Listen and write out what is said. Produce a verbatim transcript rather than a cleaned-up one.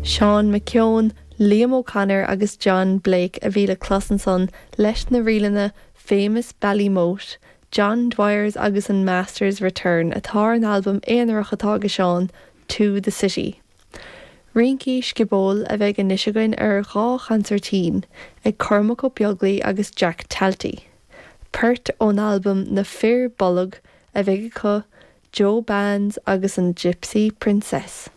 Seán McKeown, Liam O'Connor agus John Blake a bhí le clos ansan leis na ríleanna Famous Ballymote, John Dwyers agus an Masters Return atá ar an albam aonarach atá ag Seán To the City. Rincí sciobóil a bheidh anois againn ar dhá chansairtín ag Cormac Ó Beaglaoich agus Jack Talty. Port ón albam Na Fir Bolg a bheidh acu Joe Bands agus an Gypsy Princess.